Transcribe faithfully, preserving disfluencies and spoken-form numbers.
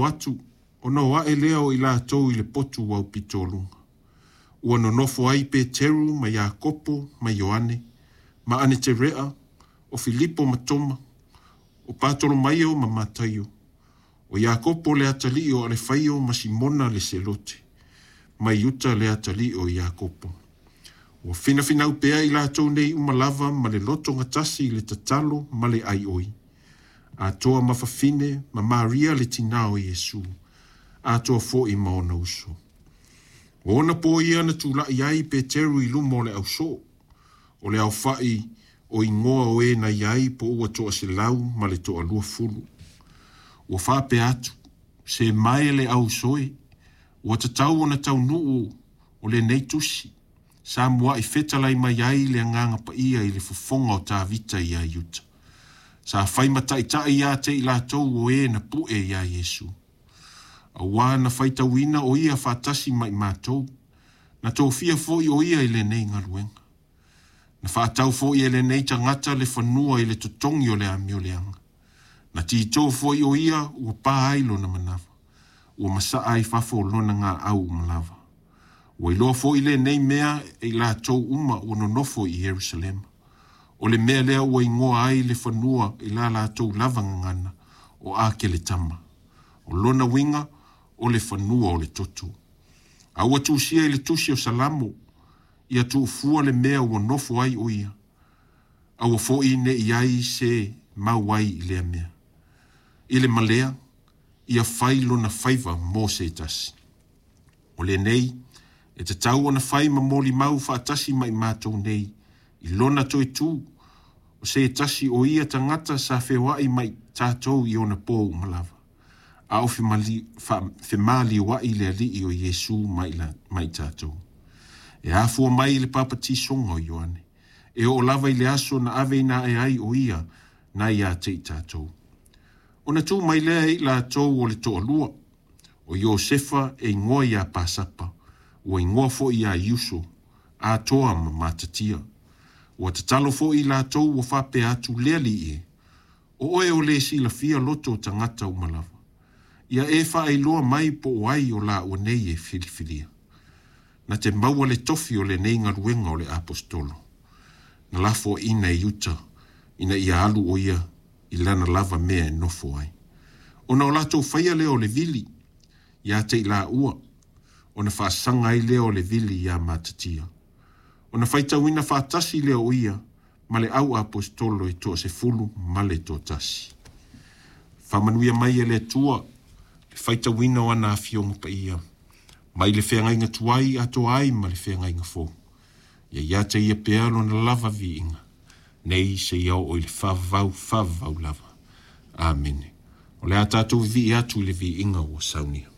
Atu ona o ae lea o i latou i le potu aupito luga. Ua nonofo ai Peteru ma Iakopo ma Ioane, ma Aneterea, o Filipo ma Toma, o Patolomaio ma Mataio, o Iakopo le atalii o Alefaio ma Simona le Selote, ma Iuta le atalii o Iakopo. Ua finafinau pea i latou nei uma lava ma le loto gatasi i le tatalo ma le aioi. Atoa ma fafine ma Maria le tinā o Iesu, atoa foi ma ona uso. O ona po ia na tula'i ai Peteru i luma o le ausoo, o le aofa'i o igoa o e na i ai po ua toaselau ma le toaluafulu. Ua faapea atu, se mae le auso e, ua tatau ona taunuu o lenei tusi, sa mua'i fetalai mai ai le agaga paia i le fofoga o Tavita iā Iuta. Sa fai ma taʻitaʻi ia te i latou o e na puʻe iā Iesu. Auā na faitauina o ia faatasi ma i matou, na tofia foi o ia i lenei galuega. Na faatau foi e lenei tagata le fanua i le totogi o le amioleaga. Na tito foi o ia ua pa ai lona manava, ua masaa ai fafo lona gaau uma lava. Ua iloa foi lenei mea e i latou uma ua nonofo i Ierusalema. O le mea lea ua igoa ai le fanua i la latou lava gagana o Akeletama. O lona uiga o le fanua o le toto. A ua tusia i le tusi o Salamo, ia tuufua le mea ua nofo ai o ia, aua foi ne i ai se mau ai i lea mea. I le malea, ia fai lona faiva mo se tasi. O lenei, e tatau ona fai ma molimau faatasi ma i matou nei, i lona toe tu, o se tasi o ia tagata sa feoai ma i tatou i ona po uma lava. A o femaliua'i le alii o Iesu ma i tatou. E afua mai i le papatisoga o Ioane. E oo lava i le aso na aveina ae ai o ia na ia te i tatou. Ona tu mai lea e i latou o le toalua, o Iosefa e igoa iā Pasapa, ua igoa foi iā Iuso, atoa ma Matatia. Ua tatalo foi i latou ua faapea atu le Alii e, o oe o le silafia loto o tagata uma lava. Ia e faailoa mai po o ai o laua nei e filifilia. Na te maua le tofi o lenei galuega o le aposetolo. Na lafoaina e Iuta ina ia alu o ia i lana lava mea e nofo ai. Ona o latou faia lea o le vili, ia te i laua, ona faasaga ai lea o le vili iā Matatia. Ona faitauina faatasi lea o ia ma le au aposetolo e toasefulu ma le toatasi. Faamanuia mai e le Atua le faitauina o ana afioga paia, mai le feagaiga tuai atoa ai ma le feagaiga fou. Ia ia te ia pea lona lava viiga, nei seia oo i le faavavau faavavau lava. Amene. O le a tatou vivii atu i le viiga ua saunia.